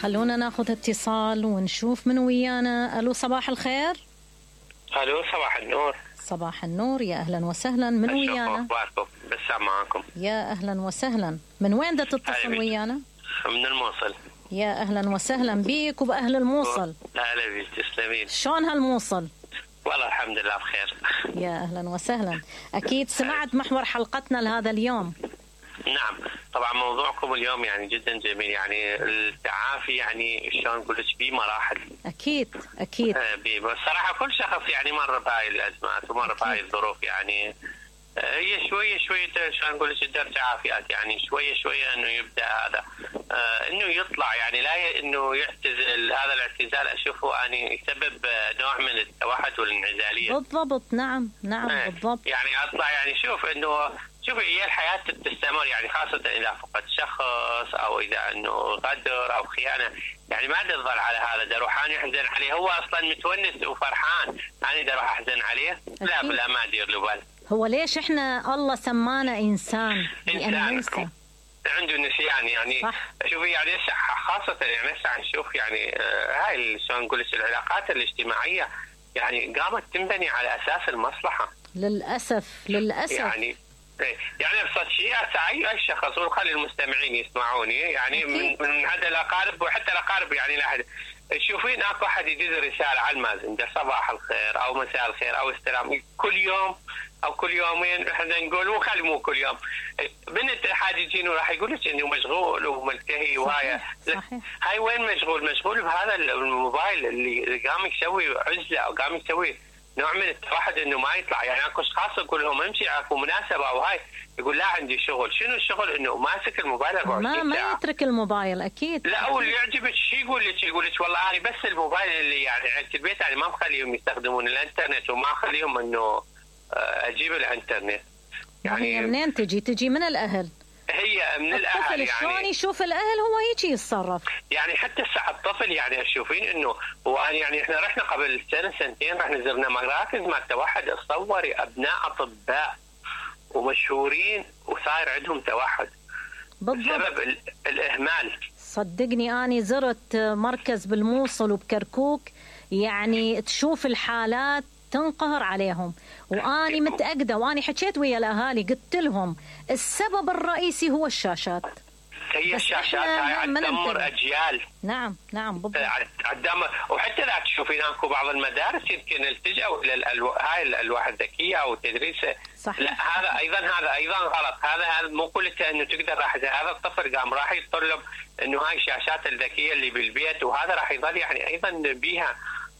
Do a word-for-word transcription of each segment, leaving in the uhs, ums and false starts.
خلونا ناخذ اتصال ونشوف من ويانا. الو صباح الخير. الو صباح النور. صباح النور، يا اهلا وسهلا. من ويانا؟ اخباركم؟ بسام معاكم. يا اهلا وسهلا. من وين دا تتصل ويانا؟ من الموصل. يا اهلا وسهلا بيك وباهل الموصل. اهلا بيك، تسلمين. شلون هالموصل؟ والله الحمد لله بخير. يا اهلا وسهلا. اكيد سمعت محور حلقتنا لهذا اليوم. نعم طبعا موضوعكم اليوم يعني جدا جميل، يعني التعافي يعني شلون نقول لك بمراحل. اكيد اكيد. بصراحه كل شخص يعني مر بهاي الازمات ومر بهاي الظروف، يعني هي شويه شويه شلون نقول لك تقدر تعافيات، يعني شويه شويه انه يبدا هذا آه انه يطلع، يعني لا انه يعتزل. هذا الاعتزال اشوفه اني يسبب نوع من التوحد والانعزاليه. بالضبط. نعم نعم آه بالضبط. يعني اطلع يعني شوف انه شوف هي الحياه تستمر، يعني خاصه اذا فقد شخص او اذا انه غدر او خيانه، يعني ما تظل على هذا. دا روح انا احزن عليه، هو اصلا متونس وفرحان، انا دا راح احزن عليه؟ لا لا ما ادير له بال. هو ليش احنا الله سمانا انسان؟ لان ننسى، عنده نسيان يعني. صح. شوفي يعني خاصه يعني هسه نشوف يعني هاي شلون نقول لك العلاقات الاجتماعيه يعني قامت تنبني على اساس المصلحه. للاسف للاسف يعني يعني ابسط شيء اي اي شخص، وخلي المستمعين يسمعوني يعني من, من هذا الاقارب وحتى الاقارب، يعني لا احد تشوفين اكو احد يدز رساله على المازنجر صباح الخير او مساء الخير او السلام كل يوم او كل يومين، احنا نقول مو خلي مو كل يوم. بنت احد يجيني وراح يقول لك انه مشغول وملتهي وهاي. هاي وين مشغول؟ مشغول بهذا الموبايل اللي قام يسوي عزله او قام يسوي نوع من التوحد انه ما يطلع. يعني اكو اشخاص يقول لهم امشي اكو مناسبه او هاي، يقول لا عندي شغل. شنو الشغل؟ انه ماسك الموبايل أربعة وعشرين ساعة. ما ما يترك الموبايل اكيد. لا واللي يعجبك شيء يقول لك يقول لك والله انا بس الموبايل اللي يعني عند البيت يعني ما مخليهم يستخدمون الانترنت وما اخليهم انه اجيب الانترنت. يعني منين تجي؟ تجي من الاهل. هي من الاهل. الطفل يعني شلون يشوف الاهل هو هيك يتصرف. يعني حتى الساعه الطفل يعني تشوفين انه وأنا يعني احنا رحنا قبل سنه سنتين رحنا زرنا مراكز مع التوحد، تصوري ابناء اطباء ومشهورين وصاير عندهم توحد بسبب الاهمال. صدقني اني زرت مركز بالموصل وبكركوك، يعني تشوف الحالات تنقهر عليهم، واني متاكده واني حكيت ويا الاهالي قلت لهم السبب الرئيسي هو الشاشات. هي الشاشات هاي تدمر اجيال. نعم نعم بالضبط. تدمر. وحتى لا تشوفين اكو بعض المدارس يمكن التجأوا الى الألو... هاي الالواح الذكيه او تدريس. صحيح. لا هذا ايضا هذا ايضا غلط. هذا مو قلت انه تقدر راح هذا الطفل قام راح يتطلب انه هاي الشاشات الذكيه اللي بالبيت، وهذا راح يظل يعني ايضا بيها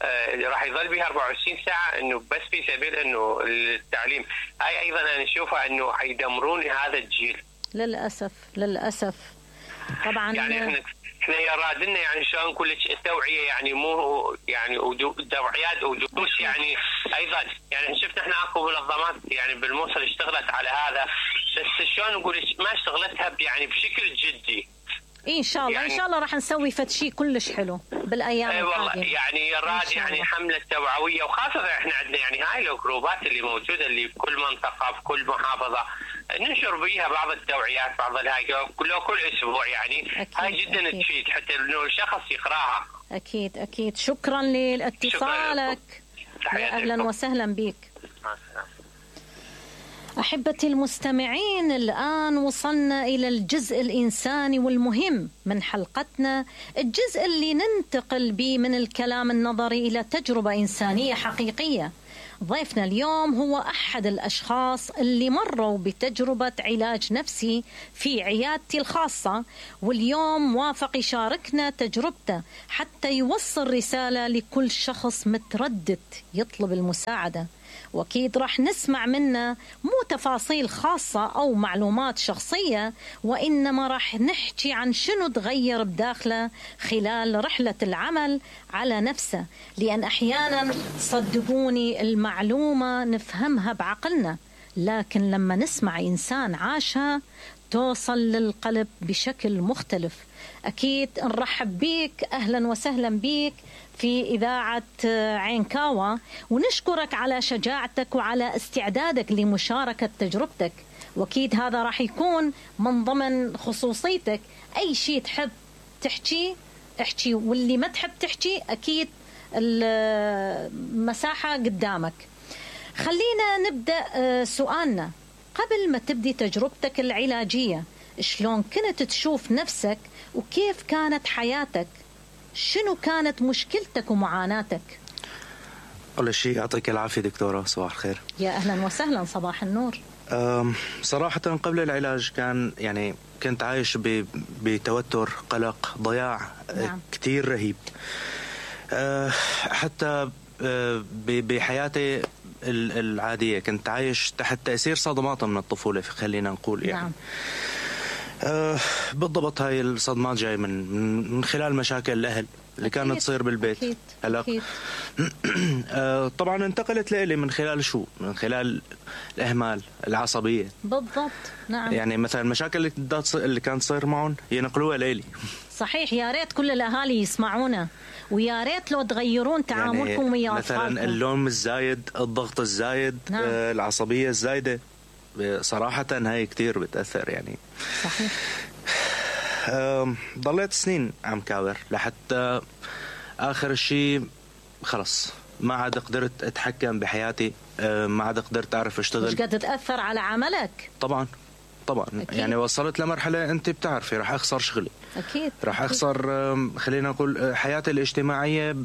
آه راح يظل بها أربعة وعشرين ساعة انه بس في سبيل انه التعليم. هاي ايضا انا اشوفها انه حيدمرون هذا الجيل للاسف للاسف. طبعا يعني احنا احنا يرادنا يعني شلون نقول لك التوعيه، يعني مو يعني توعيات ودروس يعني ايضا. يعني شفنا احنا اكو منظمات يعني بالموصل اشتغلت على هذا، بس شلون نقول لك ما اشتغلتها يعني بشكل جدي. إيه ان شاء الله يعني ان شاء الله راح نسوي فد شيء كلش حلو بالايام القادمه. اي والله يعني يراد يعني حمله توعويه، وخاصه احنا عندنا يعني هاي الجروبات اللي موجوده اللي في كل منطقه في كل محافظه ننشر بيها بعض التوعيات، بعض الهاي كل كل اسبوع يعني. أكيد هاي جدا أكيد تفيد حتى انه الشخص يقراها. اكيد اكيد. شكرا لاتصالك. يا اهلا وسهلا بك. مع السلامه. أحبتي المستمعين، الآن وصلنا إلى الجزء الإنساني والمهم من حلقتنا، الجزء اللي ننتقل به من الكلام النظري إلى تجربة إنسانية حقيقية. ضيفنا اليوم هو أحد الأشخاص اللي مروا بتجربة علاج نفسي في عيادتي الخاصة، واليوم وافق يشاركنا تجربته حتى يوصل رسالة لكل شخص متردد يطلب المساعدة. وأكيد راح نسمع منه مو تفاصيل خاصة أو معلومات شخصية، وإنما راح نحكي عن شنو تغير بداخله خلال رحلة العمل على نفسه. لأن أحيانا صدقوني المعلومة نفهمها بعقلنا، لكن لما نسمع إنسان عاشها توصل للقلب بشكل مختلف. أكيد نرحب بيك، أهلا وسهلا بيك في إذاعة عينكاوى، ونشكرك على شجاعتك وعلى استعدادك لمشاركة تجربتك. وأكيد هذا راح يكون من ضمن خصوصيتك، أي شيء تحب تحكي احكي، واللي ما تحب تحكي أكيد المساحة قدامك. خلينا نبدأ سؤالنا. قبل ما تبدي تجربتك العلاجية شلون كنت تشوف نفسك وكيف كانت حياتك؟ شنو كانت مشكلتك ومعاناتك؟ أول شيء يعطيك العافية دكتورة، صباح الخير. يا أهلا وسهلا، صباح النور. صراحة قبل العلاج كان يعني كنت عايش بتوتر، قلق، ضياع نعم. كتير رهيب. أه حتى أه بحياتي العادية كنت عايش تحت تأثير صدمات من الطفولة، خلينا نقول يعني نعم. أه بالضبط هاي الصدمات جاي من من خلال مشاكل الأهل اللي أكيد. كانت تصير بالبيت. أكيد. هلا أكيد. أه طبعا انتقلت لإلي من خلال شو؟ من خلال الإهمال، العصبية. بالضبط نعم. يعني مثلا المشاكل اللي اللي كانت تصير معهم ينقلوها لإلي. صحيح، يا ريت كل الأهالي يسمعونا، ويا ريت لو تغيرون تعاملكم يعني ويا أطفالكم. مثلا اللوم الزايد، الضغط الزايد، نعم. آه العصبية الزايدة، صراحة هاي كتير بتأثر يعني. صحيح. ضليت سنين عم كاور لحتى آخر شيء خلص ما عاد قدرت أتحكم بحياتي، ما عاد قدرت أعرف أشتغل. مش قد تأثر على عملك؟ طبعا طبعا أكيد. يعني وصلت لمرحلة أنت بتعرفي راح أخسر شغلي أكيد، راح أخسر خلينا نقول حياتي الاجتماعية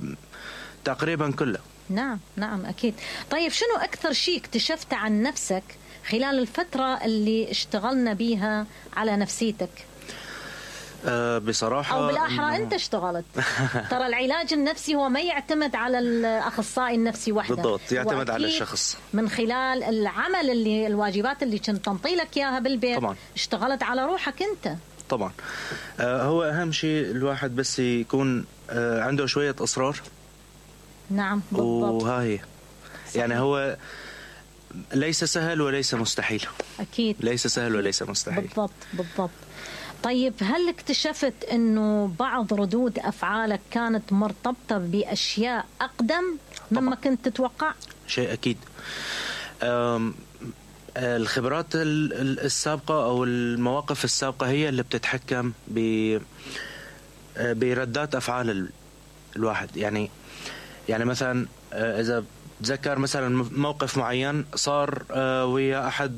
تقريبا كلها. نعم نعم أكيد. طيب شنو أكثر شيء اكتشفت عن نفسك خلال الفترة اللي اشتغلنا بيها على نفسيتك؟ أه بصراحة أو بالأحرى أنت اشتغلت. ترى العلاج النفسي هو ما يعتمد على الأخصائي النفسي وحده، بالضبط يعتمد على الشخص. من خلال العمل اللي الواجبات اللي كنت تنطي لك إياها بالبيت طبعا. اشتغلت على روحك أنت طبعا. أه هو أهم شيء الواحد بس يكون أه عنده شوية إصرار. نعم بالضبط. وهاي يعني هو ليس سهل وليس مستحيل. أكيد ليس سهل وليس مستحيل. بالضبط بالضبط. طيب هل اكتشفت أنه بعض ردود أفعالك كانت مرتبطة بأشياء أقدم مما كنت تتوقع؟ شيء أكيد. الخبرات السابقة أو المواقف السابقة هي اللي بتتحكم بردات أفعال الواحد. يعني يعني مثلا إذا تذكر مثلا موقف معين صار ويا أحد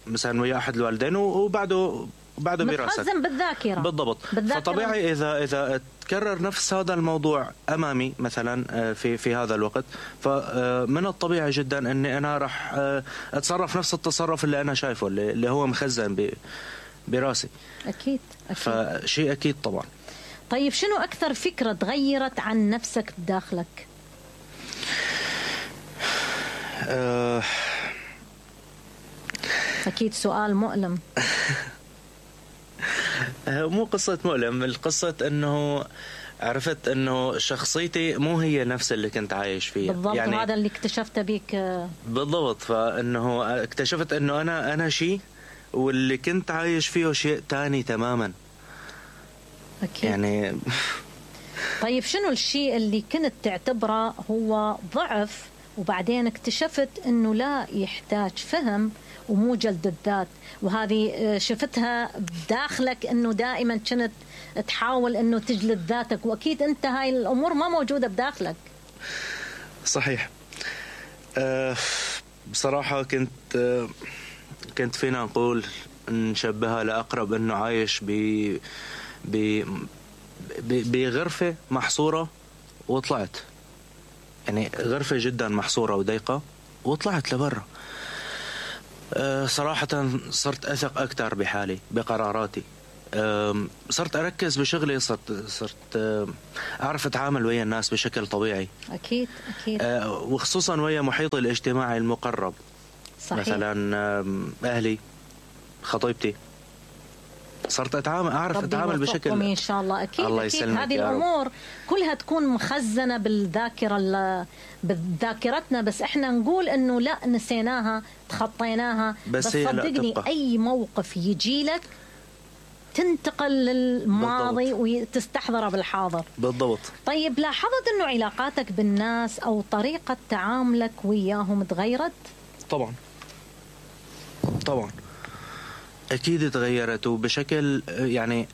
مثلا ويا أحد الوالدين وبعده بعده براسك متخزن بالذاكرة. بالضبط بالذاكرة. فطبيعي إذا إذا تكرر نفس هذا الموضوع أمامي مثلا في في هذا الوقت، فمن الطبيعي جدا أني أنا راح أتصرف نفس التصرف اللي أنا شايفه اللي هو مخزن براسي. أكيد أكيد. فشيء أكيد طبعا. طيب شنو أكثر فكرة تغيرت عن نفسك بداخلك؟ أه أكيد سؤال مؤلم. مو قصة مؤلم، القصة أنه عرفت أنه شخصيتي مو هي نفس اللي كنت عايش فيها. بالضبط يعني هذا اللي اكتشفته بيك. بالضبط. فأنه اكتشفت أنه أنا أنا شيء واللي كنت عايش فيه شيء تاني تماما. أكيد. يعني طيب شنو الشيء اللي كنت تعتبره هو ضعف وبعدين اكتشفت أنه لا يحتاج فهم ومو جلد الذات، وهذه شفتها بداخلك أنه دائما كنت تحاول أنه تجلد ذاتك، وأكيد أنت هاي الأمور ما موجودة بداخلك؟ صحيح. أه بصراحة كنت أه كنت فينا نقول نشبهها لأقرب أنه عايش ب بغرفة محصورة وطلعت، يعني غرفة جدا محصورة وضيقة وطلعت لبرا. أه صراحة صرت أثق أكثر بحالي بقراراتي، أه صرت أركز بشغلي، صرت صرت أه أعرف أتعامل ويا الناس بشكل طبيعي. أكيد أكيد. أه وخصوصا ويا محيطي الاجتماعي المقرب. صحيح. مثلا أهلي، خطيبتي، صرت أتعامل أعرف أتعامل بشكل إن شاء الله. أكيد الله أكيد. هذه الأمور كلها تكون مخزنة بالذاكرة بذاكرتنا، بس إحنا نقول إنه لا نسيناها تخطيناها. بس, بس صدقني أي موقف يجي لك تنتقل للماضي وتستحضره بالحاضر. بالضبط. طيب لاحظت إنه علاقاتك بالناس أو طريقة تعاملك وياهم تغيرت؟ طبعا طبعا أكيد تغيرت، وبشكل يعني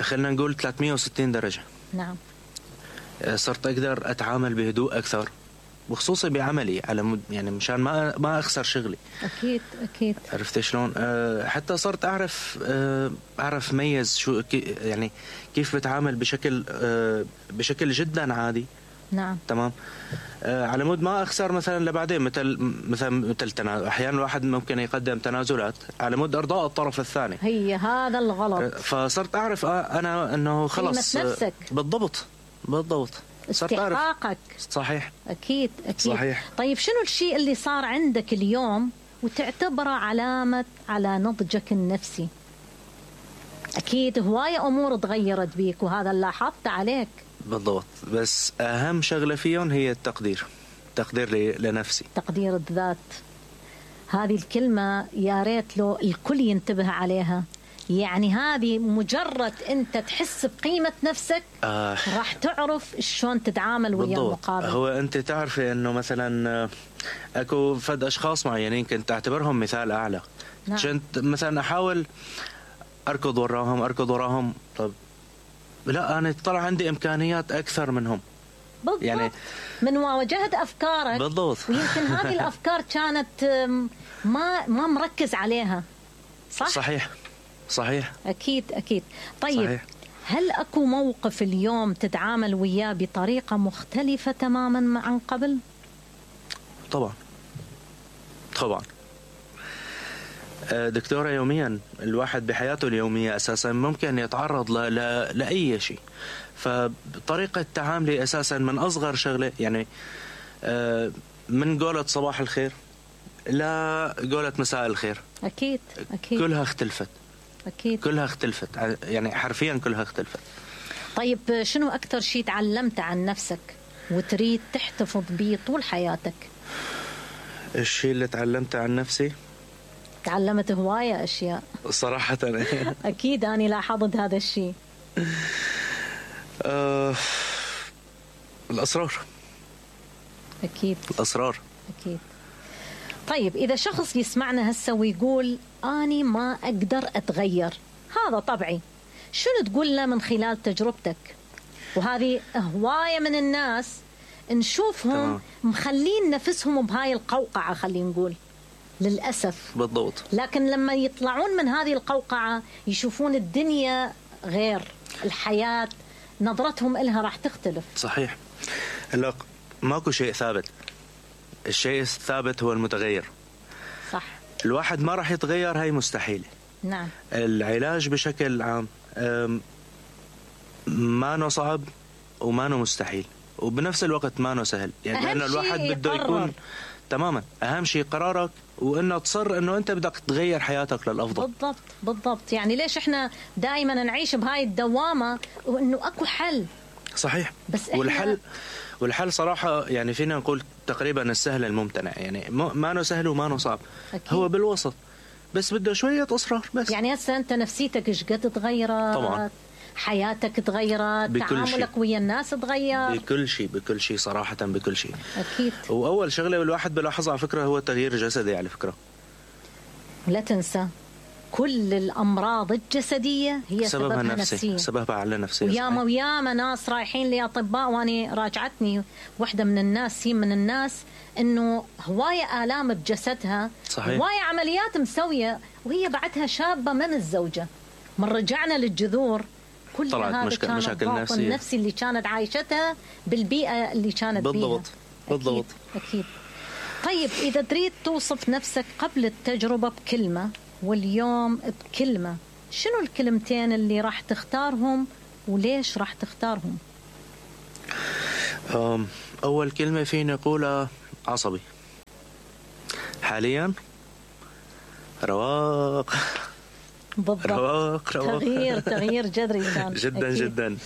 خلينا نقول ثلاثمية وستين درجة. نعم. صرت أقدر أتعامل بهدوء أكثر، وخصوصي بعملي، على مد يعني مشان ما ما أخسر شغلي. أكيد أكيد. عرفت شلون؟ أه حتى صرت أعرف أه أعرف ميز شو يعني كيف بتعامل بشكل أه بشكل جدا عادي. نعم. تمام. أه على مود ما أخسر مثلا لبعدين، مثل مثلا مثل تنازل. أحيانا الواحد ممكن يقدم تنازلات على مود إرضاء الطرف الثاني. هي هذا الغلط. أه فصرت أعرف أنا إنه خلص. قيمة نفسك. بالضبط بالضبط. استحقاقك. صحيح. أكيد أكيد. صحيح. طيب شنو الشيء اللي صار عندك اليوم وتعتبره علامة على نضجك النفسي؟ أكيد هواية أمور تغيرت بيك وهذا اللي لاحظت عليك. بالضبط، بس أهم شغلة فيهم هي التقدير. تقدير لنفسي، تقدير الذات. هذه الكلمة يا ريت لو الكل ينتبه عليها. يعني هذه مجرد أنت تحس بقيمة نفسك آه. راح تعرف شلون تتعامل ويا المقابل. هو أنت تعرفي أنه مثلا أكو فد أشخاص معينين كنت أعتبرهم مثال أعلى. نعم. كنت مثلا أحاول أركض وراهم أركض وراهم طب لا، أنا طلع عندي إمكانيات أكثر منهم. بالضبط. يعني من واجهت أفكارك. بالضبط. ويمكن هذه الأفكار كانت ما ما مركز عليها. صح؟ صحيح صحيح. أكيد أكيد. طيب صحيح. هل أكو موقف اليوم تتعامل وياه بطريقة مختلفة تماما عن قبل؟ طبعا طبعا. دكتورة، يوميا الواحد بحياته اليومية أساسا ممكن يتعرض ل... ل... لأي شيء، فطريقة تعاملي أساسا من أصغر شغلة، يعني من قولة صباح الخير لا قولة مساء الخير. أكيد أكيد. كلها اختلفت. أكيد. كلها اختلفت، يعني حرفيا كلها اختلفت. طيب شنو أكتر شيء تعلمت عن نفسك وتريد تحتفظ به طول حياتك؟ الشيء اللي تعلمته عن نفسي، تعلمت هواية أشياء صراحة. أكيد أنا لاحظت هذا الشيء. أه... الأسرار. أكيد. الأسرار. أكيد. طيب إذا شخص يسمعنا هسه ويقول أنا ما أقدر أتغير، هذا طبعي، شنو تقول له من خلال تجربتك؟ وهذه هواية من الناس نشوفهم تمام. مخلين نفسهم بهاي القوقعة، خلينا نقول للأسف. بالضبط. لكن لما يطلعون من هذه القوقعة يشوفون الدنيا غير، الحياة نظرتهم إلها راح تختلف. صحيح. هلا ماكو شيء ثابت، الشيء الثابت هو المتغير. صح. الواحد ما راح يتغير، هاي مستحيل. نعم. العلاج بشكل عام ما نو صعب وما نو مستحيل، وبنفس الوقت ما نو سهل، يعني لأن الواحد بده يكون تماما. أهم شيء قرارك، وإنه تصر إنه أنت بدك تغير حياتك للأفضل. بالضبط بالضبط. يعني ليش إحنا دائما نعيش بهاي الدوامة وإنه أكو حل؟ صحيح. بس والحل والحل صراحة يعني فينا نقول تقريبا السهل الممتنع، يعني ما نو سهل وما نو صعب. أكيد. هو بالوسط، بس بده شوية إصرار بس. يعني هسه أنت نفسيتك إيش قد تغيرت؟ طبعا. حياتك تغيرت، تعاملك ويا الناس تغير، بكل شيء بكل شيء صراحة، بكل شيء. أكيد. وأول شغلة الواحد بلاحظها على فكرة هو التغيير الجسدي على فكرة. لا تنسى كل الأمراض الجسدية هي سببها نفسية، سببها على نفسية. وياما وياما ناس رايحين لأطباء، وأنا راجعتني واحدة من الناس من الناس إنه هواية آلام بجسدها. صحيح. هواية عمليات مسوية وهي بعدها شابة من الزوجة. من رجعنا للجذور كل هذا مشكل كان مشاكل الضغط نفسية. النفسي اللي كانت عايشتها بالبيئة اللي كانت بالضبط. بيها. بالضبط. أكيد. أكيد. طيب إذا تريد توصف نفسك قبل التجربة بكلمة واليوم بكلمة، شنو الكلمتين اللي راح تختارهم وليش راح تختارهم؟ أول كلمة فيني أقولها عصبي. حاليا رواق. بالضبط. رواق رواق. تغيير تغيير جذري كان. جدا أكيد. جدا.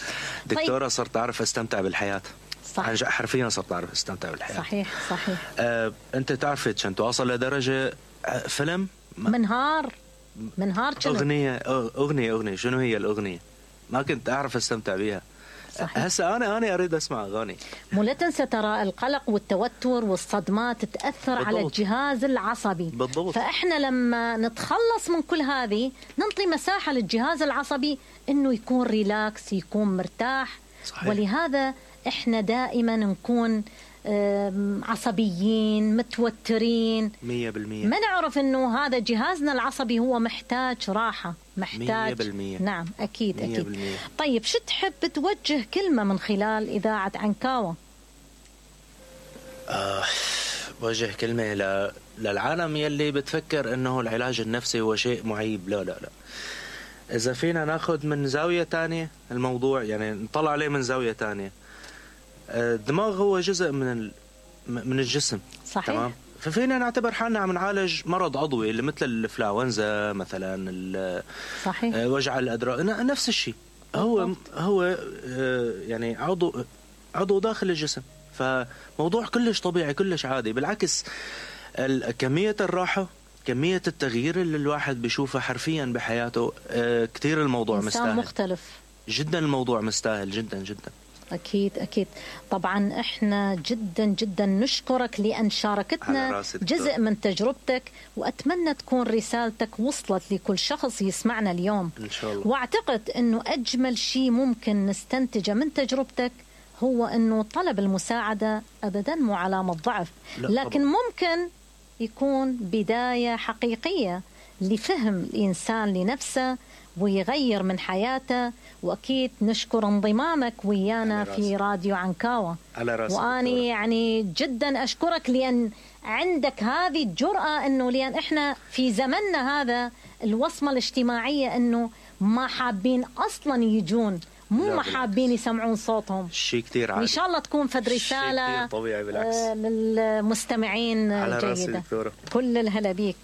دكتورة. طيب. صرت أعرف أستمتع بالحياة. صح. حرفيا صرت أعرف أستمتع بالحياة. صحيح صحيح. آه، أنت تعرفي كنت واصل لدرجة فيلم منهار منهار كنت أغنية أغنية أغنية شنو هي الأغنية ما كنت أعرف أستمتع بيها. هسه أنا أنا أريد أسمع أغاني. مو لا تنسى ترى القلق والتوتر والصدمات تأثر بالضبط. على الجهاز العصبي. بالضبط. فإحنا لما نتخلص من كل هذه ننطي مساحة للجهاز العصبي إنه يكون ريلاكس، يكون مرتاح. صحيح. ولهذا احنا دائما نكون عصبيين متوترين مية بالمية. ما نعرف انه هذا جهازنا العصبي هو محتاج راحة، محتاج مية بالمية. نعم اكيد مية اكيد بالمية. طيب شو تحب توجه كلمة من خلال إذاعة عنكاوة؟ آه وجه كلمة ل... للعالم يلي بتفكر انه العلاج النفسي هو شيء معيب. لا لا لا، اذا فينا ناخذ من زاوية تانية الموضوع، يعني نطلع عليه من زاوية تانية. الدماغ هو جزء من ال... من الجسم. صحيح. تمام. ففينا نعتبر حالنا عم نعالج مرض عضوي اللي مثل الانفلونزا مثلا، ال... صحيح. وجع الادراج، نفس الشيء. هو هو يعني عضو عضو داخل الجسم، فموضوع كلش طبيعي كلش عادي. بالعكس كمية الراحة، كمية التغيير اللي الواحد بيشوفه حرفيا بحياته كتير الموضوع إنسان مستاهل مختلف جدا. الموضوع مستاهل جدا جدا. أكيد أكيد. طبعا إحنا جدا جدا نشكرك لأن شاركتنا جزء من تجربتك، وأتمنى تكون رسالتك وصلت لكل شخص يسمعنا اليوم إن شاء الله. وأعتقد أنه أجمل شيء ممكن نستنتجه من تجربتك هو أنه طلب المساعدة أبدا مو علامة ضعف، لكن طبعا. ممكن يكون بداية حقيقية لفهم الإنسان لنفسه ويغير من حياته. وأكيد نشكر انضمامك ويانا في راديو عنكاوة. على راسي. وأني يعني جدا أشكرك لأن عندك هذه الجرأة، أنه لأن إحنا في زمننا هذا الوصمة الاجتماعية أنه ما حابين أصلا يجون، مو ما حابين يسمعون صوتهم. شيء كتير عادي. إن شاء الله تكون فد رسالة طبيعي بالعكس للمستمعين على جيدة. راسي دكتورة. كل الهلا بيك.